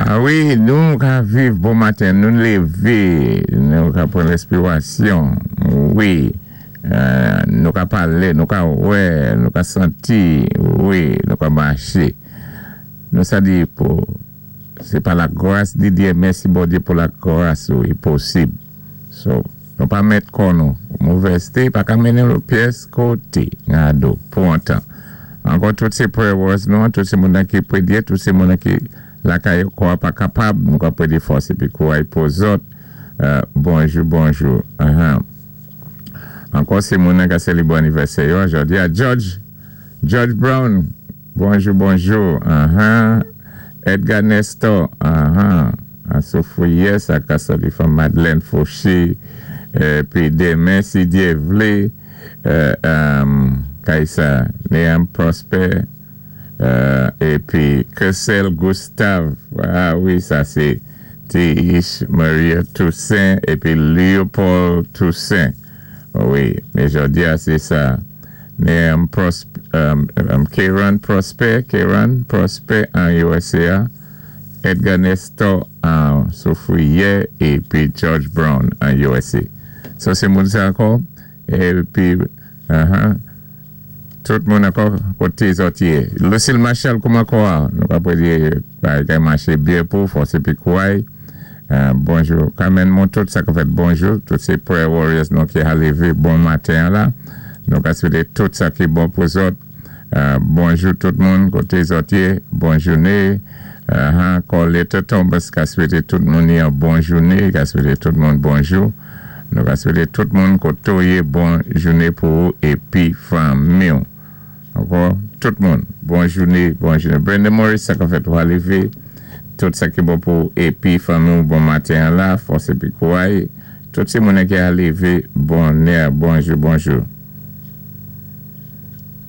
A wi, nou ka viv bon maten, nou lévé, nou ka pran réspirasyon, wi, nou ka palé, nou ka wè, nou ka santi, wi, nou ka maché. Nou sa di pou, sé pa la gras di Dye, mèsi Bondyé pou la gras ou, i posib. So, nou pa mèt kò nou, movèzté pa ka mennen nou pyès koté, ngado, pou an tan. Ankò tout sé prayer warriors nou, tout sé moun ki prédyé, tout sé moun ki lakay kwa pa kapab, nou ka prédyé fòs épi kouray pou zòt. Bonjou, bonjou. Ankò sé moun ki sélébwé anivèsè yo, jòdi a George Brown, bonjou, bonjou. Edgar Nestor, Sophie, sa ka sòti from Madeleine Fauché, pi denmen, si Dye vlé, Kaisa, Néam Prosper, épi Kessel Gustave, ah wi, sa sé Tish Maria Toussaint, épi Léopold Toussaint. Wi, mé jòdi a sé sa. Néam Prosper, Kieran Prosper, Kieran Prosper an USA, Edgar Nestor an Soufrière, épi George Brown an USA. So sé moun sa ankò, épi, tout moun ankò koté zòt yé. Lucille Marshall, kouman kò a? Nou ka prédyé bagay maché byen pou fòs épi kouray. Bonjou. Carmen Montot, sa ka fèt bonjou. Tout sé prayer warriors nou ki a lévé bon maten la. Nou ka swété tout sa ki bon pou zòt. Bonjou tout moun koté zòt yé. Bon jouné. Colette Thomas ka swété tout moun yon bon jouné. Ka swété tout moun bonjou. Nou ka swété tout moun koté ou yé bon jouné pou ou épi fanmi. Ankò, tout moun. Bon jouné, bon jouné. Brenda Morris, sa ka fèt ou lévé. Tout sa ki bon pou épi fanmi bon maten la, fòs épi kouray. Tout sé moun ki a lévé, bonè, bonjou, bonjou.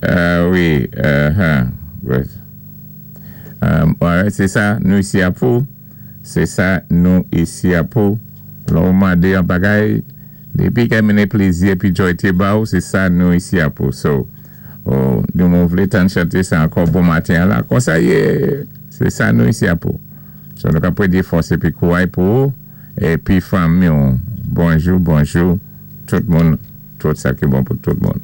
Wi, ouais, sé sa, nou isi a pou. Sé sa, nou isi a pou. Lè ou mandé an bagay, dépi ka mennen plézi épi joy té ba ou, sé sa nou isi a pou. So, oh, nou moun vlé tann chanté sa ankò bon maten la. Konsa yé, sé sa nou isi a pou. So, nou ka prédyé fòs épi kouray pou ou, épi fanmi. Bonjou, bonjou, tout moun, tout sa ki bon pou tout moun.